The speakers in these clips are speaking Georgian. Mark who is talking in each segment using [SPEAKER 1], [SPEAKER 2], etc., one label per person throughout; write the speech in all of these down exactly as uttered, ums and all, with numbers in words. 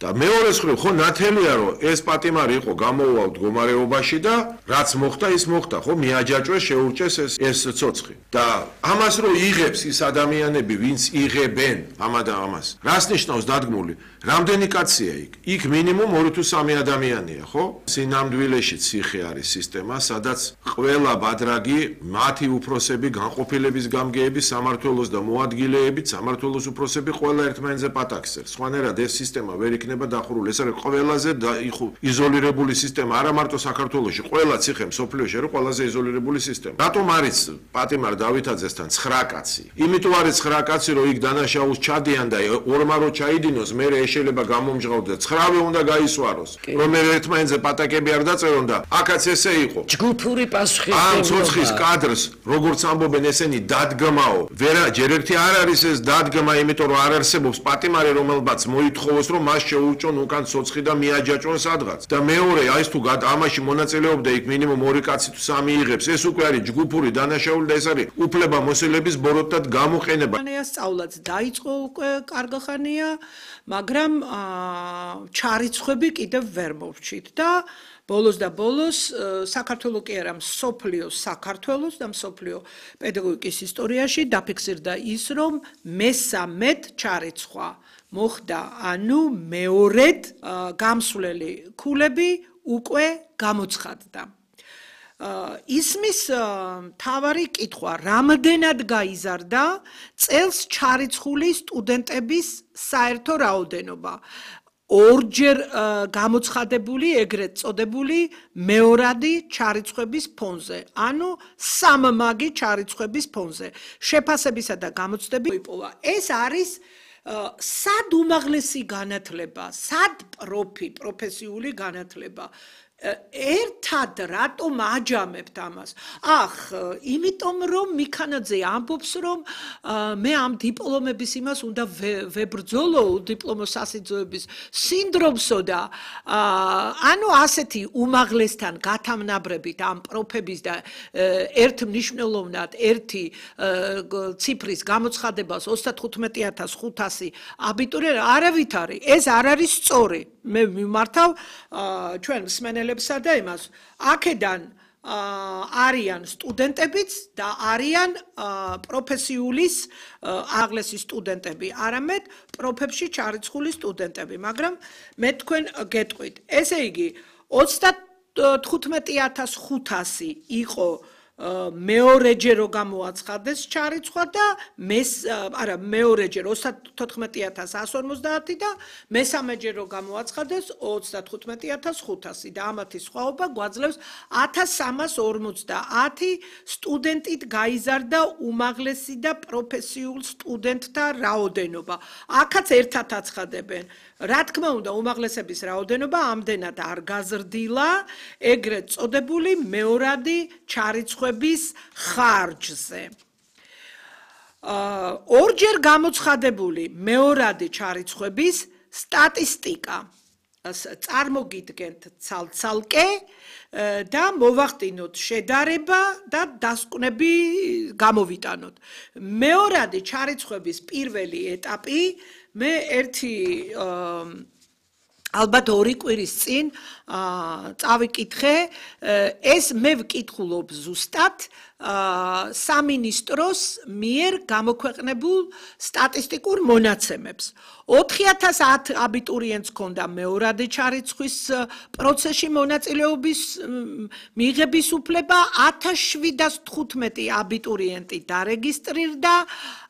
[SPEAKER 1] და მეორე მხრივ ხო ნათელია რომ ეს პატიმარი იყო გამოუვა მდგომარეობაში და რაც მოხდა ის მოხდა ხო მიაჯაჭვეს შეურჭეს ეს ეს ცოცხი და ამას რომ იღებს ის ადამიანები ვინც იღებენ ამადა ამას რას ნიშნავს დადგმული რამდენი კაცია იქ იქ მინიმუმ ორი თუ სამი ადამიანია ხო სინამდვილეში ციხე არის სისტემა სადაც ყველა ბადრაგი მათი უფროსები განყოფილების გამგეები სამართლოს და მოადგილეებით სამართლოს უფროსები ყველა ერთმანეთზე პატაკს წერს სხვანაირად ეს სისტემა ვერ იქნება დახურული ეს არის ყველაზე იზოლირებული სისტემა არა მარტო საქართველოში ყველა ციხე მსოფლიოში არის ყველაზე იზოლირებული სისტემა რატომ არის პატიმარ დავითაძესთან ცხრა კაცი იმიტომ არის ცხრა კაცი რომ იქ დანაშაულს ჩადიან და ორმა რო ჩაიდინოს მე შეიძლება გამომჟღავნოს და ცხრა უნდა გაისვაროს რომ ერთმანეთზე პატაკები არ დაწერონ და აქაც ესე იყო
[SPEAKER 2] ჯგუფური პასუხი
[SPEAKER 1] ამ ცოცხის კადრს როგორც ამბობენ ესენი დადგმაო ვერა ჯერ ერთი არ არის ეს დადგმა იმიტომ რომ არ არსებობს პატიმარი რომელმაც მოითხოვოს რომ მას შეურჭონ უკან ცოცხი და მიაჯაჭონ სადღაც და მეორე აი ეს თუ ამაში მონაწილეობდა იქ მინიმუმ ორი კაცი თუ სამი იღებს ეს უკვე არის ჯგუფური დანაშაული და ეს არის უფლება მოსილების ბოროტად გამოყენება
[SPEAKER 3] სწავლაც დაიწყო უკვე კარგახანია მაგრამ ჩარიცხვები კიდევ ვერ მოვჩით და ბოლოს და ბოლოს საქართველოს კი არა მსოფლიოს საქართველოს და მსოფლიო პედაგოგიკის ისტორიაში დაფიქსირდა ის რომ მესამედ ჩარიცხვა მოხდა ანუ მეორედ გამსვლელი ქულები უკვე გამოცხადდა ისმის თავარი კითხვა რამდენად გაიზარდა წელს ჩარიცხული სტუდენტების საერთო რაოდენობა ორჯერ გამოცხადებული ეგრეთ წოდებული მეორადი ჩარიცხვების ფონზე ანუ სამმაგი ჩარიცხვების ფონზე შეფასებისა და გამოცდები იპოვა ეს არის სად უმაღლესი განათლება სად პროფი პროფესიული განათლება ერთად რატომ აჯამებთ ამას ახ იმიტომ რომ მიქანაძე ამბობს რომ მე ამ დიპლომების იმას უნდა ვებრძოლო დიპლომოსასიძოების სინდრომსო და ანუ ასეთი უმაღლესთან გათამნაბრებით ამ პროფების და ერთ მნიშვნელოვნად ერთი ციფრის გამოცხადებას ოცდათხუთმეტი ათას ხუთასი აბიტურიენტი არავით არის ეს არ არის სწორი მე მიმართავ ჩვენ მსმენელებსა და იმას აქედან არიან სტუდენტებიც და არიან პროფესიულის აღლესი სტუდენტები არამედ პროფებში ჩარიცხული სტუდენტები მაგრამ მე თქვენ გეტყვით ესე იგი ოცდათხუთმეტი ათას ხუთასი იყო მეორეჯერ რო გამოაცხადეს ჩარიცხვა და მეს არა მეორეჯერ ოცდათხუთმეტი ათას ასი ორმოცდაათი და მესამეჯერ რო გამოაცხადეს ოცდათხუთმეტი ათას ხუთასი და ამათი სხვაობა გვაძლევს ათას სამას ორმოცდაათი სტუდენტით გაიზარდა უმაღლესი და პროფესიულ სტუდენტთა რაოდენობა აქაც ერთად აცხადებენ რა თქმა უნდა უმაღლესების რაოდენობა ამდენად არ გაზრდილა ეგრეთ წოდებული მეორადი ჩარიცხვების ხარჯზე ორჯერ გამოცხადებული მეორადი ჩარიცხვების სტატისტიკა წარმოგიდგენთ ცალ-ცალკე და მოვახდინოთ შედარება და დასკვნები გამოვიტანოთ მეორადი ჩარიცხვების პირველი ეტაპი მე ერთი ალბათ ორი კვირის წინ წავიკითხე ეს მე ვკითხულობ ზუსტად სამინისტროს მიერ გამოქვეყნებულ სტატისტიკურ მონაცემებს ოთხი ათას ათ აბიტურიენტს ჰქონდა მეორადი ჩარიცხვის პროცესში მონაწილეობის მიღების უფლება ათას შვიდას თხუთმეტი აბიტურიენტი დარეგისტრირდა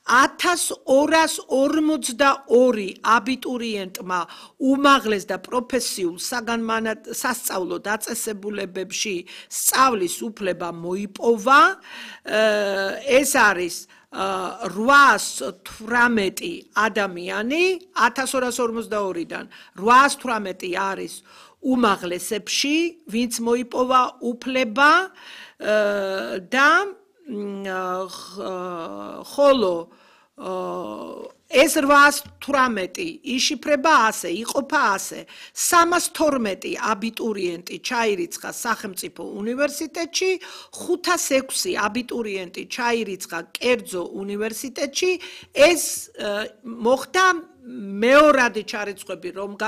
[SPEAKER 3] ათას ორას ორმოცდაორი აბიტურიენტმა უმაღლეს და პროფესიულ სასწავლო დაწესებულებებში სწავლის უფლება მოიპოვა ეს არის რვაას თვრამეტი ადამიანი ათას ორას ორმოცდაორიდან რვაას თვრამეტი არის უმაღლესებში ვინც მოიპოვა უფლება და ხოლო ეს რვაას თვრამეტი იშიფრება ასე, იყოფა ასე. სამას თორმეტი აბიტურიენტი ჩაირიცხა სახელმწიფო უნივერსიტეტში, ხუთას ექვსი აბიტურიენტი ჩაირიცხა კერძო უნივერსიტეტში. ეს მოხდა მეორადი ჩარიცხვები რომ